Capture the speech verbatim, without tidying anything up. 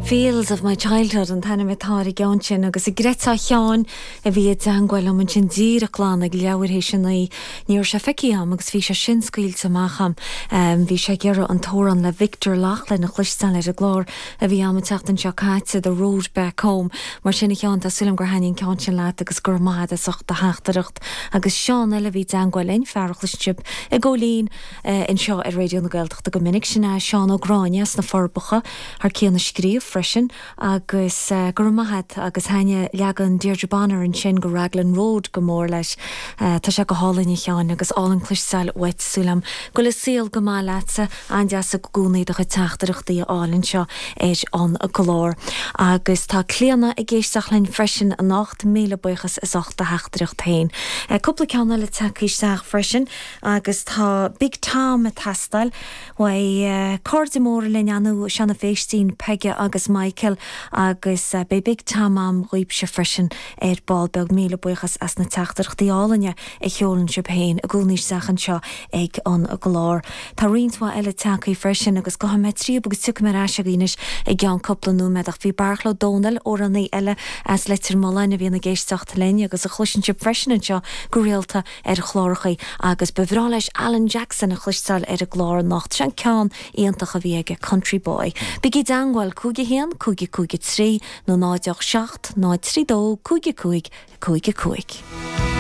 Fields of my childhood an t-ainm atá ar an gceann sin agus a Greta Sheáin a bhí i dteagmháil liom ansin díreach glan ag leathuair théis a naoi ní raibh sé feicthe agam agus bhí sé sin scaoilte amach agam. Um, bhí sé ag iarraidh an t-amhrán le Victor Loughlin a chloisteáil ar an gclár a bhí agam an tseachtain seo caite The Road Back Home. Mar sin a Sheáin tá súil agam gur thaitnigh an ceann sin leat agus gur maith as ucht do theachtaireacht agus Seán eile bhí i dteagmháil linn fear a chloiseann sibh i gcóilín uh, anseo ar Raidió na Gaeltachta go minic sin é Seán Ó Gráinne sna Forbacha thar cionn a scríobh freisin agus uh, gur maith agus thaitnigh leagan Deirdre Bonner ansin de Raglan Road go mór leis. Uh, Tá sé go hálainn a Sheáin agus álainn cloisteáil uait súil agam go bhfuil an saol go maith leatsa an-deas i gcónaí do chuid teachtaireachtaí a fháil anseo ar an gclár. Agus tá Clíona ag éisteacht linn freisin anocht míle buíochas as ucht do theachtaireacht féin. Uh, cúpla ceann eile tagtha isteach freisin agus tá Big Tom ag teastáil uaidh uh, cairde mór linn anú Seanna Féistín Peige agus Michael agus uh, beidh Big Tom agam dhaoibhse freisin ar ball beag míle buíochas as na teachtaireachtaí álainne a sheolann sibh féin i gcónaí isteach anseo ag an gclár. Tá roinnt mhaith eile tagtha freisin agus go mé trí agus tu mar eise gínis i gceann cúpla nóiméad ach bhí Beartla Ó Domhnaill amhránaí eile as Leitir Mealláin a bhíonn ag éisteacht linn agus a chloiseann sibh freisin anseo go rialta ar chláracha agus ba bhreá leis Alan Jackson a chloisteáil ar an gclár anocht sin ceann iontach a bhí aige Country Boy. Bígí i dteagmháil cúig a haon cúig cúig trí nó náid seacht náid trí dó cúig cúig cúig cúig.